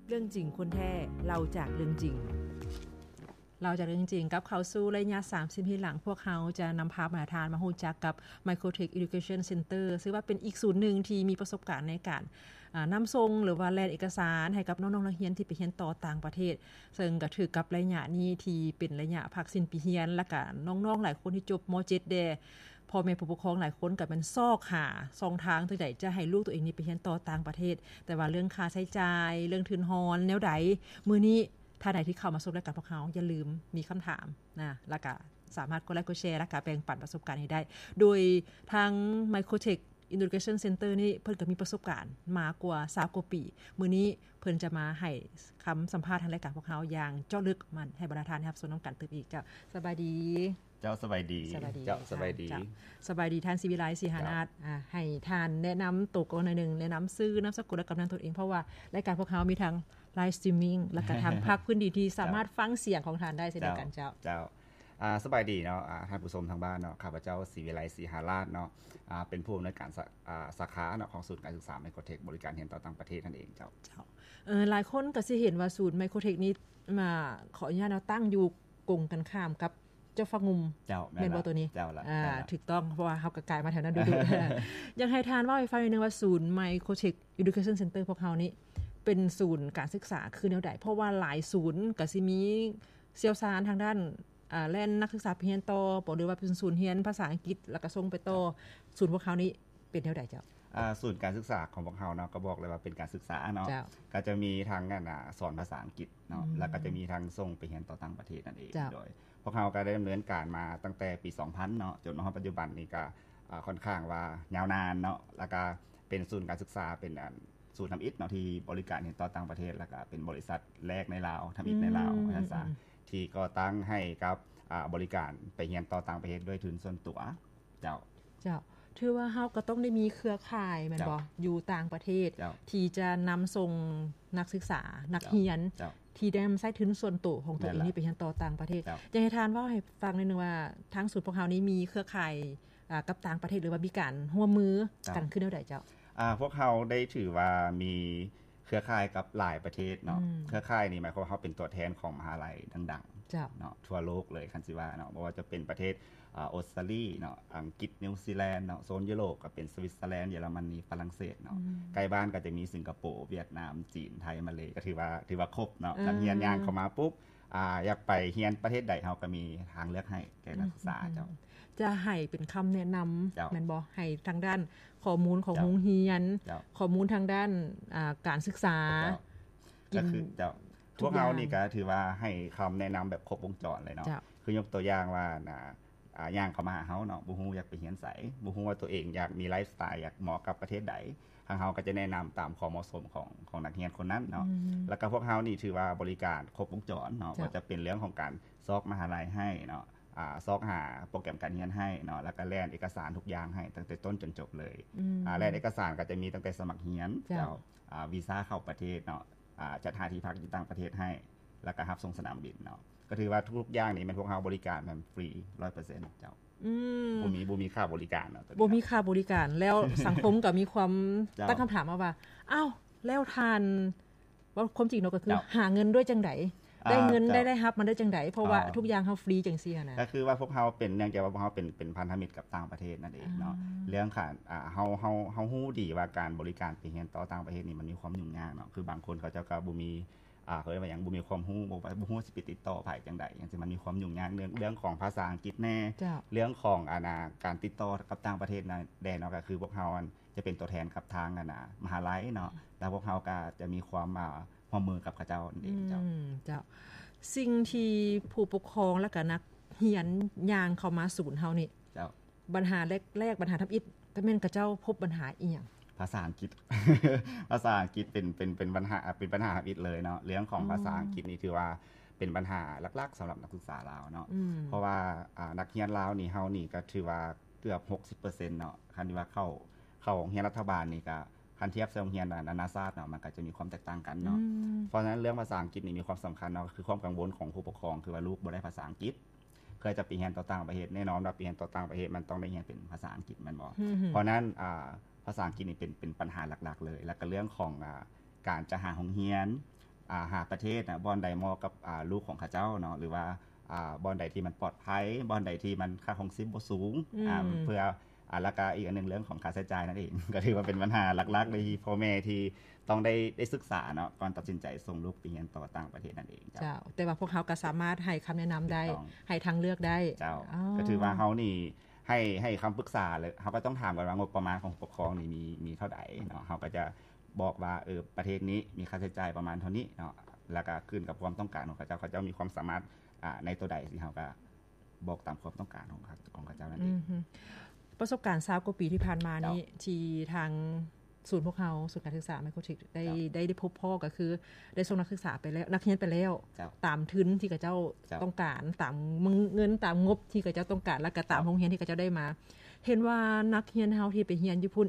ເລື່ອງຈິງຄົນແທ້ ເລົ່າຈາກເລື່ອງຈິງ. ເລົ່າຈາກເລື່ອງຈິງ ກັບເຂົ້າສູ່ໄລຍະສາມສິບນາທີຫຼັງ, ພວກເຮົາຈະນຳພາບັນດາທ່ານມາຮູ້ຈັກກັບ Microtech Education Center ຊຶ່ງວ່າເປັນອີກສູນໜຶ່ງທີ່ມີປະສົບການໃນການ ອາ ນຳສົ່ງ ຫຼືວ່າແລ່ນເອກະສານໃຫ້ກັບນ້ອງໆນັກຮຽນທີ່ໄປຮຽນຕໍ່ຕ່າງປະເທດ, ເຊິ່ງກໍຖືກກັບໄລຍະນີ້ທີ່ເປັນໄລຍະພັກສິ້ນປີຮຽນ ແລ້ວກໍນ້ອງໆຫຼາຍຄົນທີ່ຈົບ ມ.ເຈັດ ແດ່. ພໍ່ແມ່ຜູ້ປົກຄອງຫຼາຍຄົນກໍແມ່ນຊອກຫາຊ່ອງທາງຈັ່ງໃດຈະໃຫ້ລູກຕົວເອງນີ້ໄປຮຽນຕໍ່ຕ່າງປະເທດ, ແຕ່ວ່າເລື່ອງຄ່າໃຊ້ຈ່າຍ, ເລື່ອງທຶນຮອນແນວໃດ, ມື້ນີ້ທ່ານໃດທີ່ເຂົ້າມາຊົມລາຍການພວກເຮົາ ຢ່າລືມມີຄຳຖາມນະ ແລ້ວກະສາມາດກົດໄລກົດແຊ ແລ້ວກະແບ່ງປັນປະສົບການໃຫ້ໄດ້ ໂດຍທາງ Microtech Education Center ນີ້ ເພິ່ນກໍມີປະສົບການມາກວ່າຊາວກວ່າປີ. ມື້ນີ້ເພິ່ນຈະມາໃຫ້ຄຳສຳພາດທາງລາຍການພວກເຮົາຢ່າງເຈາະເລິກ ມາໃຫ້ບັນດາທ່ານໄດ້ຮັບຊົມນຳກັນຕື່ມອີກ. ເຈົ້າ ສະບາຍດີ. ເຈົ້າ ສະບາຍດີ. ສະບາຍດີ. ເຈົ້າ ສະບາຍດີ. ເຈົ້າ ສະບາຍດີທ່ານ ສີວິໄລ ສີຫານາດ. ເຈົ້າ ອາ ໃຫ້ທ່ານແນະນຳໂຕກ່ອນໜ້ອຍໜຶ່ງ, ແນະນຳຊື່, ນາມສະກຸນ ແລະ ກຳນຳຕົນເອງ, ເພາະວ່າລາຍການພວກເຮົາມີທັງ live streaming ແລ້ວກໍທາງພາກພື້ນທີ່ທີ່ສາມາດ ເຈົ້າ ຟັງສຽງຂອງທ່ານໄດ້ເຊັ່ນດຽວກັນ. ເຈົ້າ ເຈົ້າ ເຈົ້າ. ອາ ສະບາຍດີເນາະ ອາ ທ່ານຜູ້ຊົມທາງບ້ານເນາະ, ຂ້າພະເຈົ້າ ສີວິໄລ ສີຫາລາດເນາະ, ອາ ເປັນຜູ້ອຳນວຍການສາ ອາ ສາຂາເນາະ ຂອງສູນການສຶກສາ Microtech ບໍລິການຮຽນຕໍ່ຕ່າງປະເທດນັ້ນເອງ. ເຈົ້າ ເຈົ້າ. ເອີ ຫຼາຍຄົນກໍຊິເຫັນວ່າສູນ Microtech ນີ້ ມາ ຂໍອະນຸຍາດເນາະ ຕັ້ງຢູ່ກົງກັນຂ້າມກັບເຈົ້າຟ້າງຸ່ມ. ເຈົ້າ ແມ່ນ ແມ່ນບໍ່ ລະ ໂຕນີ້? ເຈົ້າ ລະ ອາ ແມ່ນ ລະ ຖືກຕ້ອງ, ເພາະວ່າເຮົາກໍກາຍມາແຖວນັ້ນດຸໆ. ຢາກໃຫ້ທ່ານເວົ້າໃຫ້ຟັງໜ້ອຍໜຶ່ງວ່າ ສູນ Microtech Education Center ພວກເຮົານີ້ ເປັນສູນການສຶກສາຄືແນວໃດ? ເພາະວ່າຫຼາຍສູນກໍຊິມີຊ່ຽວຊານທາງດ້ານ ອາ ແລ່ນນັກສຶກສາໄປຮຽນຕໍ່ບໍ ຫຼືວ່າເປັນສູນຮຽນພາສາອັງກິດ ແລ້ວກໍສົ່ງໄປຕໍ່. ເຈົ້າ ສູນພວກເຮົານີ້ເປັນແນວໃດເຈົ້າ? ອາ ສູນການສຶກສາຂອງພວກເຮົາເນາະ ກໍບອກເລີຍວ່າເປັນການສຶກສາເນາະ. ເຈົ້າ. ກໍຈະມີທັງ ອັນ ອາ ສອນພາສາອັງກິດເນາະ. ອືມ. ແລ້ວກໍຈະມີທັງສົ່ງໄປຮຽນຕໍ່ຕ່າງປະເທດນັ້ນເອງ. ເຈົ້າ. ໂດຍພວກເຮົາກໍໄດ້ດຳເນີນການມາຕັ້ງແຕ່ປີສອງພັນເນາະ ຈົນມາຮອດປັດຈຸບັນນີ້ກໍ ອາ ຂ້ອນຂ້າງວ່າຍາວນານເນາະ. ແລ້ວກໍເປັນສູນການສຶກສາ ເປັນ ອັນ ສູນທຳອິດເນາະ ທີ່ບໍລິການຮຽນຕໍ່ຕ່າງປະເທດ ແລ້ວກໍເປັນບໍລິສັດແລກໃນລາວ ທຳອິດໃນລາວ ອືມ ວ່າຊັ້ນຊະ ອືມ ທີ່ກໍ່ຕັ້ງໃຫ້ກັບ ອາ ບໍລິການໄປຮຽນຕໍ່ຕ່າງປະເທດດ້ວຍທຶນສ່ວນຕົວ. ເຈົ້າ. ເຈົ້າ. ຖືວ່າເຮົາກໍຕ້ອງໄດ້ມີເຄືອຂ່າຍແມ່ນບໍ່? ເຈົ້າ. ຢູ່ຕ່າງປະເທດ ເຈົ້າ ທີ່ຈະນຳສົ່ງນັກສຶກສາ ນັກຮຽນ ເຈົ້າ ທີ່ໄດ້ນຳໃຊ້ທຶນສ່ວນໂຕຂອງຕົວເອງ ແມ່ນລະ ນີ້ໄປຮຽນຕໍ່ຕ່າງປະເທດ. ເຈົ້າ. ຢາກໃຫ້ທ່ານເວົ້າໃຫ້ຟັງໜ້ອຍໜຶ່ງວ່າ ທາງສູນພວກເຮົານີ້ມີເຄືອຂ່າຍ ອາ ກັບຕ່າງປະເທດ ຫຼືວ່າມີການຮ່ວມມື ເຈົ້າ ກັນຄືແນວໃດເຈົ້າ? ອາ ພວກເຮົາໄດ້ຖືວ່າມີເຄືອຂ່າຍກັບຫຼາຍປະເທດເນາະ. ອືມ. ເຄືອຂ່າຍນີ້ໝາຍຄວາມວ່າເຮົາເປັນຕົວແທນຂອງມະຫາໄລດັງໆ ເຈົ້າ ເນາະ ທົ່ວໂລກເລີຍ ຄັນຊິວ່າເນາະ. ບໍ່ວ່າຈະເປັນປະເທດ ອາ ອົດສະຕາລີເນາະ, ອັງກິດ, ນິວຊີແລນເນາະ, ໂຊນຢູໂຣບກໍເປັນສະວິດເຊີແລນ, ເຢຍລະມະນີ, ຝຣັ່ງເສດເນາະ. ອືມ. ໃກ້ບ້ານກໍຈະມີສິງກະໂປ, ຫວຽດນາມ, ຈີນ, ໄທ, ມາເລ ກໍຖືວ່າ ຖືວ່າຄົບເນາະ. ເອີ. ນັກຮຽນຍ່າງເຂົ້າມາປຸບ ອາ ຢາກໄປຮຽນປະເທດໃດ ເຮົາກໍມີທາງເລືອກໃຫ້ແກ່ນັກສຶກສາ. ອືມ. ເຈົ້າ. ຈະໃຫ້ເປັນຄຳແນະນຳ ເຈົ້າ ແມ່ນບໍ່? ໃຫ້ທາງດ້ານຂໍ້ມູນຂອງ ເຈົ້າ ໂຮງຮຽນ, ເຈົ້າ ຂໍ້ມູນທາງດ້ານ ອາ ການສຶກສາ. ເຈົ້າ. ກໍຄື ເຈົ້າ ພວກເຮົານີ້ກໍຖືວ່າໃຫ້ຄຳແນະນຳແບບຄົບວົງຈອນເລີຍເນາະ. ເຈົ້າ. ຄືຍົກຕົວຢ່າງວ່າ ອາ ອາ ຍ່າງເຂົ້າມາຫາເຮົາເນາະ, ບໍ່ຮູ້ຢາກໄປຮຽນໃສ, ບໍ່ຮູ້ວ່າຕົວເອງຢາກມີໄລຟ໌ສະໄຕລ໌ ຢາກເໝາະກັບປະເທດໃດ, ທາງເຮົາກໍຈະແນະນຳຕາມຄວາມເໝາະສົມຂອງ ຂອງນັກຮຽນຄົນນັ້ນເນາະ. ອືມ. ແລ້ວກໍພວກເຮົານີ້ຖືວ່າບໍລິການຄົບວົງຈອນເນາະ, ເຈົ້າ ບໍ່ວ່າຈະເປັນເລື່ອງຂອງການຊອກມະຫາໄລໃຫ້ເນາະ, ອາ ຊອກຫາໂປຣແກຣມການຮຽນໃຫ້ເນາະ, ແລ້ວກໍແລ່ນເອກະສານທຸກຢ່າງໃຫ້ຕັ້ງແຕ່ຕົ້ນຈົນຈົບເລີຍ. ອືມ. ອາ ແລ່ນເອກະສານກໍຈະມີຕັ້ງແຕ່ສະໝັກຮຽນ, ເຈົ້າ ເຈົ້າ ອາ ວີຊາເຂົ້າປະເທດເນາະ, ອາ ຈັດຫາທີ່ພັກຢູ່ຕ່າງປະເທດໃຫ້, ແລ້ວກໍຮັບສົ່ງສະໜາມບິນເນາະ. ກໍຖືວ່າທຸກໆຢ່າງນີ້ແມ່ນພວກເຮົາບໍລິການແບບຟຣີຮ້ອຍເປີເຊັນເຈົ້າ. ອືມ. ບໍ່ມີ ບໍ່ມີຄ່າບໍລິການເນາະ ບໍ່ມີຄ່າບໍລິການ. ແລ້ວສັງຄົມກໍມີຄວາມ ເຈົ້າ ຕັ້ງຄຳຖາມມາວ່າ ອ້າວ ແລ້ວທ່ານ ເວົ້າຄວາມຈິງເນາະ ກໍຄື ເຈົ້າ ຫາເງິນດ້ວຍຈັ່ງໃດ? ອ່າ ໄດ້ເງິນ ເຈົ້າ ໄດ້ລາຍຮັບມາໄດ້ຈັ່ງໃດ? ເພາະວ່າ ອ່າ ທຸກຢ່າງເຮົາຟຣີຈັ່ງຊີ້ນະ. ກໍຄືວ່າພວກເຮົາເປັນ ເນື່ອງຈາກວ່າພວກເຮົາເປັນ ເປັນພັນທະມິດກັບຕ່າງປະເທດນັ້ນເອງເນາະ. ອ່າ ເລື່ອງການ ອ່າ ເຮົາ ເຮົາ ເຮົາຮູ້ດີວ່າການບໍລິການໄປຮຽນຕໍ່ຕ່າງປະເທດນີ້ ມັນມີຄວາມຫຍຸ້ງຍາກເນາະ. ຄືບາງຄົນເຂົາເຈົ້າກໍບໍ່ມີ ອ່າ ເຂົາເອີ້ນວ່າຫຍັງ ບໍ່ມີຄວາມຮູ້ ບໍ່ ບໍ່ຮູ້ຊິໄປຕິດຕໍ່ໃຜຈັ່ງໃດ ຈັ່ງຊີ້. ມັນມີຄວາມຫຍຸ້ງຍາກເລື່ອງ ເລື່ອງຂອງພາສາອັງກິດແດ່ ເຈົ້າ ເລື່ອງຂອງ ອັນນ່າ ການຕິດຕໍ່ກັບຕ່າງປະເທດນັ້ນແດ່ເນາະ. ກໍຄືພວກເຮົາ ອັນ ຈະເປັນຕົວແທນກັບທາງ ອັນນ່າ ມະຫາໄລເນາະ, ແລ້ວພວກເຮົາກໍຈະມີຄວາມ ອ່າ ຮ່ວມມືກັບເຂົາເຈົ້ານັ້ນເອງ. ເຈົ້າ. ອືມ ເຈົ້າ. ສິ່ງທີ່ຜູ້ປົກຄອງ ແລ້ວກໍນັກຮຽນຍ່າງເຂົ້າມາສູນເຮົານີ້ ເຈົ້າ ບັນຫາແລກໆ ບັນຫາທຳອິດ ກໍແມ່ນຂະເຈົ້າພົບບັນຫາອີ່ຫຍັງ? ພາສາອັງກິດ. ພາສາອັງກິດເປັນ ເປັນ ເປັນບັນຫາ ເປັນບັນຫາທຳອິດເລີຍເນາະ. ເລື່ອງຂອງ ອືມ ພາສາອັງກິດນີ້ຖືວ່າເປັນບັນຫາຫຼັກໆ ສຳລັບນັກສຶກສາລາວເນາະ. ອືມ. ເພາະວ່າ ອ່າ ນັກຮຽນລາວນີ້ ເຮົານີ້ກໍຖືວ່າເກືອບຫົກສິບເປີເຊັນເນາະ, ຄັນທີ່ວ່າເຂົ້າ ເຂົ້າໂຮງຮຽນລັດຖະບານນີ້ ກໍຄັນທຽບໃສ່ໂຮງຮຽນນານາຊາດເນາະ ມັນກໍຈະມີຄວາມແຕກຕ່າງກັນເນາະ. ອືມ. ເພາະສະນັ້ນເລື່ອງພາສາອັງກິດນີ້ມີຄວາມສຳຄັນເນາະ, ກໍຄືຄວາມກັງວົນຂອງຜູ້ປົກຄອງ ຄືວ່າລູກບໍ່ໄດ້ພາສາອັງກິດ ເພື່ອຈະໄປຮຽນຕໍ່ຕ່າງປະເທດ. ແນ່ນອນວ່າໄປຮຽນຕໍ່ຕ່າງປະເທດ ມັນຕ້ອງໄດ້ຮຽນເປັນພາສາອັງກິດແມ່ນບໍ່? ອືມ. ເພາະນັ້ນ ອ່າ ພາສາອັງກິດນີ້ເປັນ ເປັນບັນຫາຫຼັກໆເລີຍ. ແລ້ວກໍເລື່ອງຂອງ ອ່າ ການຈະຫາໂຮງຮຽນ ອ່າ ຫາປະເທດນະ ບ່ອນໃດເໝາະກັບ ອ່າ ລູກຂອງເຂົາເຈົ້າເນາະ ຫຼືວ່າ ອ່າ ບ່ອນໃດທີ່ມັນປອດໄພ ບ່ອນໃດທີ່ມັນຄ່າຄອງຊີບບໍ່ສູງ ອືມ ອ່າ ເພື່ອ ອ່າ ແລ້ວກະອີກອັນໜຶ່ງເລື່ອງຂອງຄ່າໃຊ້ຈ່າຍນັ້ນເອງ ກໍຖືວ່າເປັນບັນຫາຫຼັກໆ ທີ່ພໍ່ແມ່ທີ່ຕ້ອງໄດ້ ໄດ້ສຶກສາເນາະ ກ່ອນຕັດສິນໃຈສົ່ງລູກໄປຮຽນຕໍ່ຕ່າງປະເທດນັ້ນເອງ. ເຈົ້າ ເຈົ້າ ແຕ່ວ່າພວກເຮົາກໍສາມາດໃຫ້ຄຳແນະນຳໄດ້ ຖືກຕ້ອງ ໃຫ້ທາງເລືອກໄດ້. ເຈົ້າ ອໍ ກໍຖືວ່າເຮົານີ້ໃຫ້ ໃຫ້ຄຳປຶກສາ ແລ້ວເຮົາກໍຕ້ອງຖາມກ່ອນວ່າງົບປະມານຂອງຜູ້ປົກຄອງນີ້ມີ ມີເທົ່າໃດເນາະ ເຮົາກໍຈະ ບອກວ່າ ເອີ ປະເທດນີ້ມີຄ່າໃຊ້ຈ່າຍປະມານເທົ່ານີ້ເນາະ ແລ້ວກະຂຶ້ນກັບຄວາມຕ້ອງການຂອງເຂົາເຈົ້າ ເຂົາເຈົ້າມີຄວາມສາມາດ ອ່າ ໃນໂຕໃດ ທີ່ເຮົາກະບອກຕາມຄວາມຕ້ອງການຂອງເຂົາ ຂອງເຂົາເຈົ້ານັ້ນເອງ. ອືມ ປະສົບການຊາວກວ່າປີທີ່ຜ່ານມານີ້ ເຈົ້າ ທີ່ທາງສູນພວກເຮົາ ສູນການສຶກສາໄມໂຄຣເທັກ ໄດ້ ເຈົ້າ ໄດ້ ໄດ້ພົບພໍ້ ກໍຄືໄດ້ສົ່ງນັກສຶກສາໄປແລ້ວ ນັກຮຽນໄປແລ້ວ ເຈົ້າ ຕາມທຶນທີ່ເຂົາເຈົ້າ ເຈົ້າ ຕ້ອງການ ຕາມເງິນ ຕາມງົບທີ່ເຂົາເຈົ້າຕ້ອງການ ແລ້ວກໍຕາມ ເຈົ້າ ໂຮງຮຽນທີ່ເຂົາເຈົ້າໄດ້ມາ. ເຫັນວ່ານັກຮຽນເຮົາທີ່ໄປຮຽນຢູ່ພຸ້ນ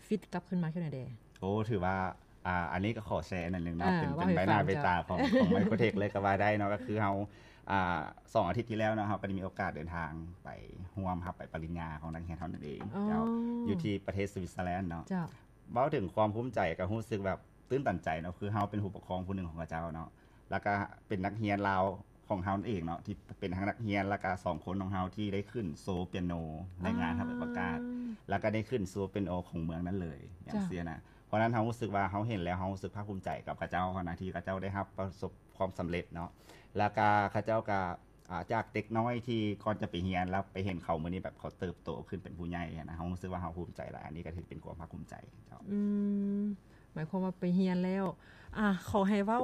ຟີດກັບຄືນມາຈັ່ງໃດແດ່? ໂອ້ ຖືວ່າ ອ່າ ອັນນີ້ກໍຂໍແຊອັນໜຶ່ງເນາະ ເອີ ເປັນ ເວົ້າໃຫ້ຟັງ ເປັນໃບໜ້າໃບຕາຂອງ ຂອງໄມໂຄຣເທັກເລີຍກໍວ່າໄດ້ເນາະ ກໍຄືເຮົາ ອ່າ ສອງອາທິດທີ່ແລ້ວເນາະ ເຮົາກໍໄດ້ມີໂອກາດເດີນທາງໄປຮ່ວມຮັບໃບປະລິນຍາຂອງນັກຮຽນເຮົານັ້ນເອງ ເຈົ້າ ຢູ່ທີ່ປະເທດສະວິດເຊີແລນເນາະ. ເຈົ້າ ເວົ້າເຖິງຄວາມພູມໃຈ ກໍຮູ້ສຶກແບບຕື່ນຕັນໃຈເນາະ ຄືເຮົາເປັນຜູ້ປົກຄອງຜູ້ໜຶ່ງຂອງເຂົາເຈົ້າເນາະ ແລ້ວກໍເປັນນັກຮຽນລາວຂອງເຮົານັ້ນເອງເນາະ ທີ່ເປັນທັງນັກຮຽນ ແລ້ວກໍສອງຄົນຂອງເຮົາທີ່ໄດ້ຂຶ້ນໂຊປຽໂນໃນງານຮັບໃບປະກາດ ແລ້ວກໍໄດ້ຂຶ້ນໂຊປຽໂນຂອງເມືອງນັ້ນເລີຍ ຢ່າງ ເຈົ້າ ຊີ້ນະ. ເພາະນັ້ນເຮົາຮູ້ສຶກວ່າ ເຮົາເຫັນແລ້ວເຮົາຮູ້ສຶກພາກພູມໃຈກັບເຂົາເຈົ້າຫັ້ນນະ ທີ່ເຂົາເຈົ້າໄດ້ຮັບປະສົບຄວາມສຳເລັດເນາະ ແລ້ວກໍເຂົາເຈົ້າກໍ ອ່າ ຈາກເດັກນ້ອຍທີ່ກ່ອນຈະໄປຮຽນ ແລ້ວໄປເຫັນເຂົາມື້ນີ້ແບບເຂົາເຕີບໂຕຂຶ້ນເປັນຜູ້ໃຫຍ່ຫັ້ນນະ ເຮົາຮູ້ສຶກວ່າເຮົາພູມໃຈຫຼາຍ ອັນນີ້ກໍຖືເປັນຄວາມພາກພູມໃຈ. ເຈົ້າ ອືມ ໝາຍຄວາມວ່າໄປຮຽນແລ້ວ ອ່າ ຂໍໃຫ້ເວົ້າ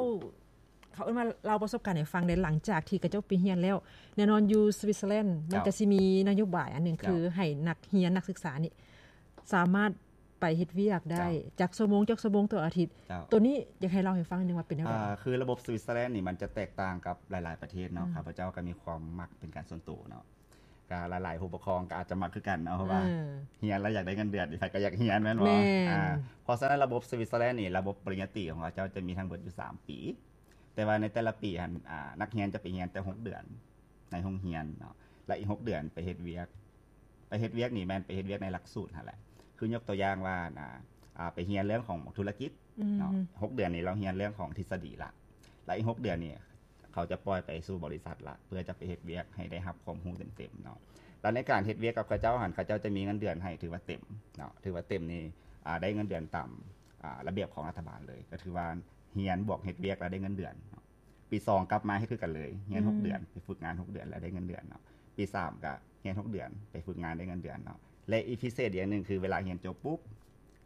ເຂົາເອີ້ນວ່າເລົ່າປະສົບການໃຫ້ຟັງແດ່ ຫຼັງຈາກທີ່ເຂົາເຈົ້າໄປຮຽນແລ້ວ ແນ່ນອນຢູ່ສະວິດເຊີແລນ ມັນ ເຈົ້າ ກໍຊິມີນະໂຍບາຍອັນໜຶ່ງ ເຈົ້າ ຄືໃຫ້ນັກຮຽນນັກສຶກສານີ້ສາມາດໄປເຮັດວຽກໄດ້ ເຈົ້າ ຈັກຊົ່ວໂມງ ຈັກຊົ່ວໂມງຕໍ່ອາທິດ. ເຈົ້າ ໂຕນີ້ຢາກໃຫ້ເລົ່າໃຫ້ຟັງໜຶ່ງວ່າເປັນແນວໃດ? ອ່າ ຄືລະບົບສະວິດເຊີແລນນີ້ມັນຈະແຕກຕ່າງກັບຫຼາຍໆປະເທດເນາະ ອືມ ຂ້າພະເຈົ້າກໍມີຄວາມມັກເປັນການສ່ວນໂຕເນາະ ກໍຫຼາຍໆຜູ້ປົກຄອງກໍອາດຈະມັກຄືກັນເນາະ ເພາະວ່າ ເອີ ຮຽນແລ້ວຢາກໄດ້ເງິນເດືອນ ໃຜກໍຢາກຮຽນແມ່ນບໍ່? ແມ່ນ. ອ່າ ເພາະສະນັ້ນລະບົບສະວິດເຊີແລນນີ້ ລະບົບປະລິນຍາຕີຂອງເຂົາເຈົ້າຈະມີທັງເບິດຢູ່ສາມປີ ແຕ່ວ່າໃນແຕ່ລະປີຫັ້ນ ອ່າ ນັກຮຽນຈະໄປຮຽນແຕ່ຫົກເດືອນໃນໂຮງຮຽນເນາະ ແລະ ອີກຫົກເດືອນໄປເຮັດວຽກ. ໄປເຮັດວຽກນີ້ແມ່ນໄປເຮັດວຽກໃນຫຼັກສູດຫັ້ນແຫຼະ ຄືຍົກຕົວຢ່າງວ່າ ອ່າ ອ່າ ໄປຮຽນເລື່ອງຂອງທຸລະກິດເນາະ ອືມ ຫົກເດືອນນີ້ລາວຮຽນເລື່ອງຂອງທິດສະດີລະ ແລະ ອີກຫົກເດືອນນີ້ ເຂົາຈະປ່ອຍໄປສູ່ບໍລິສັດລະ ເພື່ອຈະໄປເຮັດວຽກໃຫ້ໄດ້ຮັບຄວາມຮູ້ເຕັມໆເນາະ. ແລ້ວໃນການເຮັດວຽກກັບເຂົາເຈົ້າຫັ້ນ ເຂົາເຈົ້າຈະມີເງິນເດືອນໃຫ້ຖືວ່າເຕັມເນາະ ຖືວ່າເຕັມນີ້ ອ່າ ໄດ້ເງິນເດືອນຕາມ ອ່າ ລະບຽບຂອງລັດຖະບານເລີຍ ກໍຖືວ່າຮຽນບວກເຮັດວຽກແລ້ວໄດ້ເງິນເດືອນເນາະ. ປີສອງກັບມາເຮັດຄືກັນເລີຍ ຮຽນຫົກເດືອນ ອືມ ໄປຝຶກງານຫົກເດືອນແລ້ວໄດ້ເງິນເດືອນເນາະ. ປີສາມກໍຮຽນຫົກເດືອນ ໄປຝຶກງານໄດ້ເງິນເດືອນເນາະ. ແລະ ອີກພິເສດອີກຢ່າງໜຶ່ງ ຄືເວລາຮຽນຈົບປຸບ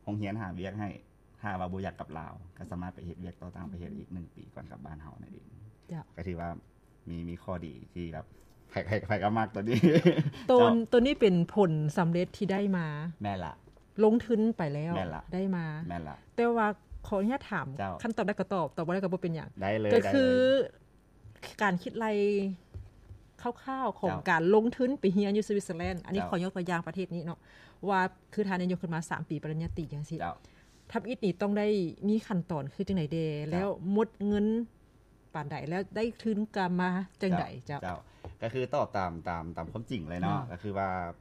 ໂຮງຮຽນຫາວຽກໃຫ້ ຖ້າວ່າບໍ່ຢາກກັບລາວ ກໍສາມາດໄປເຮັດວຽກຕໍ່ຕ່າງປະເທດອີກໜຶ່ງປີກ່ອນກັບບ້ານເຮົານັ້ນເອງ. ເຈົ້າ ກໍຖືວ່າມີ ມີຂໍ້ດີທີ່ແບບໃຜ ໃຜ ໃຜກໍມັກໂຕນີ້. ໂຕ ເຈົ້າ ໂຕນີ້ເປັນຜົນສຳເລັດທີ່ໄດ້ມາ. ແມ່ນລະ ລົງທຶນໄປແລ້ວ ແມ່ນລະ ໄດ້ມາ. ແມ່ນລະ ແຕ່ວ່າຂໍອະນຸຍາດຖາມ ເຈົ້າ ຄັນຕອບໄດ້ກໍຕອບ ຕອບບໍ່ໄດ້ກໍບໍ່ເປັນຫຍັງ. ໄດ້ເລີຍ ກໍຄື ໄດ້ເລີຍ ການຄິດໄລ່ຄ່າວໆຂອງ ເຈົ້າ ການລົງທຶນໄປຮຽນຢູ່ສະວິດເຊີແລນ ອັນນີ້ ເຈົ້າ ຂໍຍົກຕົວຢ່າງປະເທດນີ້ເນາະ ວ່າຄືທ່ານໄດ້ຍົກຂຶ້ນມາສາມປີປະລິນຍາຕີຈັ່ງຊີ້ ເຈົ້າ ທຳອິດນີ້ຕ້ອງໄດ້ມີຂັ້ນຕອນຄືຈັ່ງໃດແດ່ ເຈົ້າ ແລ້ວໝົດເງິນປານໃດ ແລ້ວໄດ້ທຶນກຳມາຈັ່ງໃດ? ເຈົ້າ ເຈົ້າ ເຈົ້າ ກໍຄືຕອບຕາມ ຕາມ ຕາມຄວາມຈິງເລີຍເນາະ ເຈົ້າ ກໍຄືວ່າ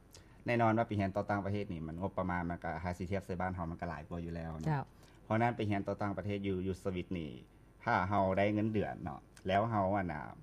ແນ່ນອນວ່າໄປຮຽນຕໍ່ຕ່າງປະເທດນີ້ ມັນງົບປະມານມັນກໍ ຖ້າຊິທຽບໃສ່ບ້ານເຮົາ ມັນກໍຫຼາຍກວ່າຢູ່ແລ້ວເນາະ ເຈົ້າ ເພາະນັ້ນໄປຮຽນຕໍ່ຕ່າງປະເທດຢູ່ ຢູ່ສະວິດນີ້ ຖ້າເຮົາໄດ້ເງິນເດືອນເນາະ ແລ້ວເຮົາ ອັນນ່າ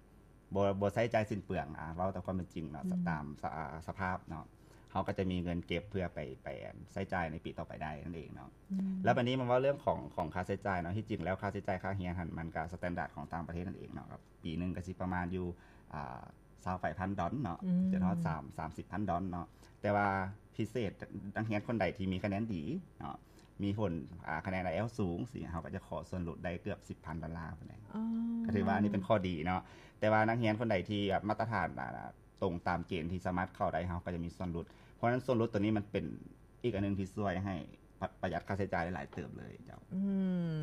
ບໍ່ ບໍ່ໃຊ້ຈ່າຍສິ້ນເປືອງ ອາ ເວົ້າຕາມຄວາມເປັນຈິງເນາະ ອືມ ຕາມສະ ອາ ສະພາບເນາະ ເຮົາກໍຈະມີເງິນເກັບເພື່ອໄປ ໄປ ອັນ ໃຊ້ຈ່າຍໃນປີຕໍ່ໄປໄດ້ນັ້ນເອງເນາະ. ອືມ ແລ້ວບາດນີ້ມາເວົ້າເລື່ອງຂອງ ຂອງຄ່າໃຊ້ຈ່າຍເນາະ ທີ່ຈິງແລ້ວຄ່າໃຊ້ຈ່າຍຄ່າຮຽນຫັ້ນ ມັນກໍສະແຕນດາດຂອງຕ່າງປະເທດນັ້ນເອງເນາະ ກໍປີໜຶ່ງກໍຊິປະມານຢູ່ ອາ ຊາວປາຍພັນດອນເນາະ ອືມ ຈົນຮອດສາມ ສາມສິບພັນດອນເນາະ ແຕ່ວ່າພິເສດ ນັກຮຽນຄົນໃດທີ່ມີຄະແນນດີເນາະ ມີຜົນ ອາ ຄະແນນໄອແອລສູງຊີ້ ເຮົາກໍຈະຂໍສ່ວນຫຼຸດໄດ້ເກືອບສິບພັນດອນລາພຸ້ນແຫຼະ ອໍ ກໍຖືວ່າອັນນີ້ເປັນຂໍ້ດີເນາະ ແຕ່ວ່ານັກຮຽນຄົນໃດທີ່ແບບມາດຕະຖານ ອາ ຕົງຕາມເກນທີ່ສາມາດເຂົ້າໄດ້ ເຮົາກໍຈະມີສ່ວນຫຼຸດ ເພາະນັ້ນສ່ວນຫຼຸດຕົວນີ້ມັນເປັນອີກອັນໜຶ່ງທີ່ຊ່ວຍໃຫ້ປະ ປະຢັດຄ່າໃຊ້ຈ່າຍໄດ້ຫຼາຍເຕີບເລີຍເຈົ້າ. ອື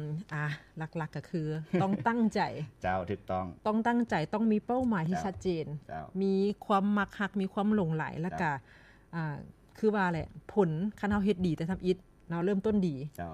ມ ອ່າ ຫຼັກໆກໍຄືຕ້ອງຕັ້ງໃຈ ເຈົ້າ ຖືກຕ້ອງ ຕ້ອງຕັ້ງໃຈ ຕ້ອງມີເປົ້າໝາຍທີ່ ເຈົ້າ ຊັດເຈນ ເຈົ້າ ມີຄວາມມັກຮັກ ມີຄວາມຫຼົງໄຫຼ ແລ້ວກໍ ເຈົ້າ ອ່າ ຄືວ່າແຫຼະ ຜົນ ຄັນເຮົາເຮັດດີແຕ່ທຳອິດເນາະ ເລີ່ມຕົ້ນດີ ເຈົ້າ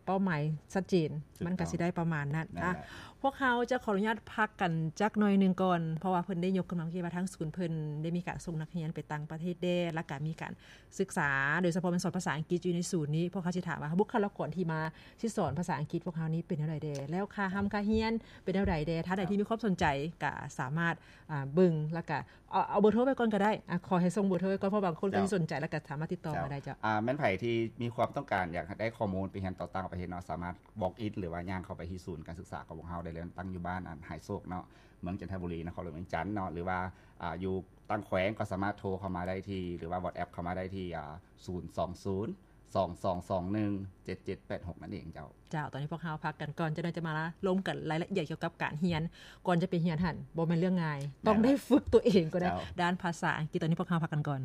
ເປົ້າໝາຍຊັດເຈນ ມັນກໍຊິໄດ້ປະມານນັ້ນ ນັ້ນແຫຼະ. ພວກເຮົາຈະຂໍອະນຸຍາດພັກກັນຈັກໜ່ອຍໜຶ່ງກ່ອນ ເພາະວ່າເພິ່ນໄດ້ຍົກຂຶ້ນມາເມື່ອກີ້ວ່າ ທາງສູນເພິ່ນໄດ້ມີການສົ່ງນັກຮຽນໄປຕ່າງປະເທດແດ່ ແລ້ວກໍມີການສຶກສາ ໂດຍສະເພາະແມ່ນສອນພາສາອັງກິດຢູ່ໃນສູນນີ້. ພວກເຮົາຊິຖາມວ່າ ບຸກຄະລາກອນທີ່ມາຊິສອນພາສາອັງກິດພວກເຮົານີ້ເປັນແນວໃດແດ່ ແລ້ວຄ່າຮ່ຳຄ່າຮຽນເປັນແນວໃດແດ່? ທ່ານໃດທີ່ມີຄວາມສົນໃຈກໍສາມາດ ອ່າ ເບິ່ງ ແລ້ວກໍ ເອົາ ເອົາເບີໂທໄວ້ກ່ອນກໍໄດ້ ອ່າ ຂໍໃຫ້ສົ່ງເບີໂທໄວ້ກ່ອນ ເພາະບາງຄົນກໍຊິສົນໃຈ ແລ້ວກໍສາມາດຕິດຕໍ່ມາໄດ້. ເຈົ້າ ອ່າ ແມ່ນໃຜທີ່ມີຄວາມຕ້ອງການຢາກໄດ້ຂໍ້ມູນໄປຮຽນຕໍ່ຕ່າງປະເທດເນາະ ສາມາດ walk in ຫຼືວ່າຍ່າງເຂົ້າໄປທີ່ສູນການສຶກສາຂອງພວກເຮົາໄດ້ເລີຍ ຕັ້ງຢູ່ບ້ານ ອັນ ໄຮໂຊກເນາະ ເມືອງຈັນທະບູລີ ນະຄອນຫຼວງວຽງຈັນເນາະ ຫຼືວ່າ ອ່າ ຢູ່ຕ່າງແຂວງກໍສາມາດໂທເຂົ້າມາໄດ້ທີ່ ຫຼືວ່າ WhatsApp ເຂົ້າມາໄດ້ທີ່ ອ່າ ສູນສອງສູນ ສອງສອງສອງໜຶ່ງ ເຈັດເຈັດແປດຫົກ ນັ້ນເອງເຈົ້າ. ເຈົ້າ ຕອນນີ້ພວກເຮົາພັກກັນກ່ອນ ຈັກໜ່ອຍຈະມາລົມກັນລາຍລະອຽດກ່ຽວກັບການຮຽນ. ກ່ອນຈະໄປຮຽນຫັ້ນ ບໍ່ແມ່ນເລື່ອງງ່າຍ ຕ້ອງໄດ້ຝຶກຕົວເອງກໍໄດ້ ດ້ານພາສາອັງກິດ. ຕອນນີ້ພວກເຮົາພັກກັນກ່ອນ.